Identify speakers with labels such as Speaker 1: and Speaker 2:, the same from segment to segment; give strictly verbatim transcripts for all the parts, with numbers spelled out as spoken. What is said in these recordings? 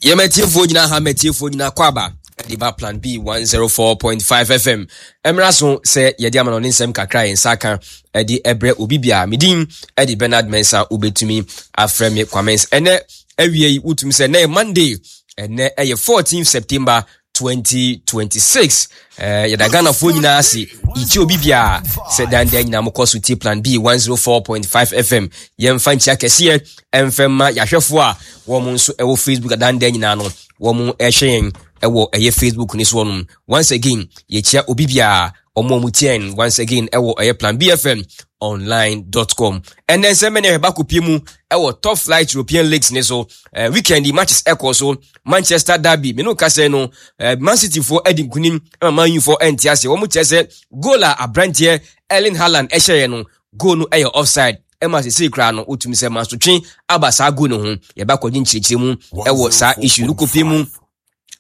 Speaker 1: Yɛmɛtiefoɔ nyinaa ha, mɛtiefoɔ nyinaa kɔ aba ɛde ba Plan B one oh four point five F M. Ɛmmra so sɛ yɛde ama no ne nsɛm kakra yɛn nsa ka ɛde ɛbrɛ obi bia. Medin ɛde Bernard Mensa, wobɛtumi afrɛ me Kwamens. Ɛnɛ awie yi, wotumi sɛ ɛnɛ yɛ Monday, ɛnɛ ɛyɛ fourteen September twenty twenty-six. eh, yɛda Ghanafoɔ nyinaa ase, yɛkyia obi biaa sɛ dandan nyinaa mokɔ so tie Plan B one oh four point five F M. Yɛmfa nkyia kɛseɛ ɛmfɛ ma yɛahwɛfoɔ a wɔn nso ɛwɔ Facebook adandan nyinaa no, wɔn ɛhwɛ yɛn ɛwɔ ɛyɛ Facebook ne soɔ no. Once again, yɛkyia obi biaa ɔmo a ɔmo tie yɛn once again ɛwɔ ɛyɛ Plan B F M online dot com. Ɛnɛ nsɛm bɛ ne ɛhwɛ baako mu ɛwɔ top flight European leagues ne so. uh, weekend matches ɛkɔ so. Manchester derby, mene kasɛ no, uh, Man City foɔ ɛdi nkunim ɛma Man U foɔ ɛnte ase. Wɔn kyerɛ sɛ goal a aberanteɛ Erling Haaland ɛhyɛeɛ no, goal no ɛyɛ offside, ɛma sesei koraa no wotumi sɛ mansotwe aba saa goal no ho. Yɛba kɔgye nkyerɛkyerɛ mu ɛwɔ saa issue no. Kɔpie mu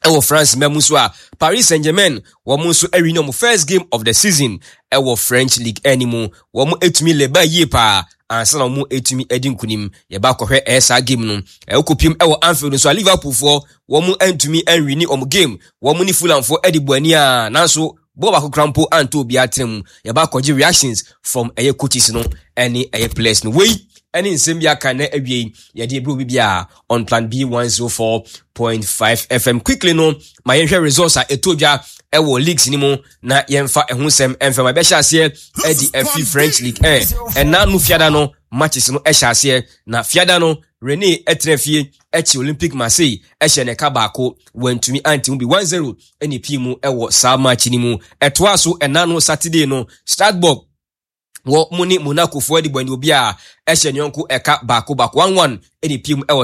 Speaker 1: ɛwɔ France mɛmu nso a, Paris Saint Germain wɔn nso ɛwi wɔn first game of the season ɛwɔ French League ɛni mu. Wɔn etumi leba yie paa ansa na wɔn etumi ɛdi nkunim. Yɛba akɔhwɛ ɛyɛ saa game no. Ɛwɔ ɛwɔ Anfield nso a, Liverpool foɔ wɔn ntumi ɛnwini wɔn game. Wɔn ne Fulham foɔ ɛde bɔ ani a, nanso bɔɔl baako kora mpo anto obiara tena mu. Yɛba akɔgye reactions from ɛyɛ coaches no ɛne ɛyɛ players no. Wei ɛne nsɛm bi aka na awie yɛde ebere obi bia on Plan B one oh four point five F M. Quickly no, ma yɛnhwɛ results a ɛtɔ dwa ɛwɔ leagues ni mu na yɛmfa ɛho nsɛm ɛmfɛ ma ɛbɛhyɛ aseɛ ɛde afi French League. ɛn ɛna no fiada no matches no ɛhyɛ aseɛ na fiada no Rennes ɛtena fie ɛkyi Olympic Marseille ɛhyɛ ne ka baako, wɔntumi ante mu bi, one zero ɛne pii mu ɛwɔ saa match ni mu. Ɛtoa so ɛna no Saturday no, Strasbourg wɔ mu ne Monaco foɔ de bɔ ne obi a ɛhyɛ ne yɔnko ɛka baako baako, one one, ɛne pii mu ɛwɔ